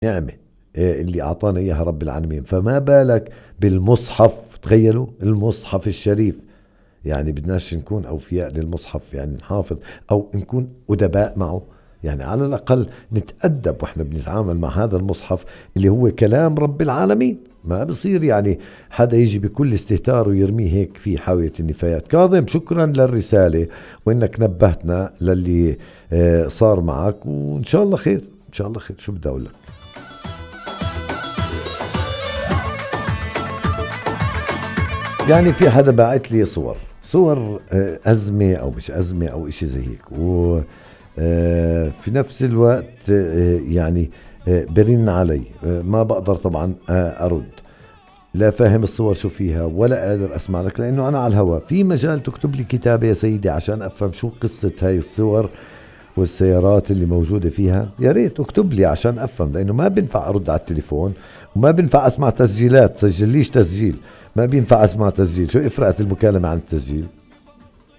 نعمة اللي أعطانا إياها رب العالمين، فما بالك بالمصحف. تخيلوا المصحف الشريف، يعني بدناش نكون أوفياء للمصحف، يعني نحافظ أو نكون أدباء معه، يعني على الأقل نتأدب وإحنا بنتعامل مع هذا المصحف اللي هو كلام رب العالمين. ما بصير يعني حدا يجي بكل استهتار ويرميه هيك في حاوية النفايات. كاظم، شكرا للرسالة وإنك نبهتنا للي صار معك، وإن شاء الله خير إن شاء الله خير. شو بدي أقول لك؟ يعني في حدا باعت لي صور أزمة أو مش أزمة أو إشي زي هيك، وفي نفس الوقت يعني برن علي، ما بقدر طبعا أرد، لا فاهم الصور شو فيها ولا قادر أسمع لك لأنه أنا على الهواء. في مجال تكتب لي كتابة يا سيدي عشان أفهم شو قصة هاي الصور والسيارات اللي موجودة فيها؟ يا ريت اكتب لي عشان أفهم، لأنه ما بينفع أرد على التليفون وما بينفع أسمع تسجيلات. سجليش تسجيل، ما بينفع أسمع تسجيل. شو إفرقت المكالمة عن التسجيل؟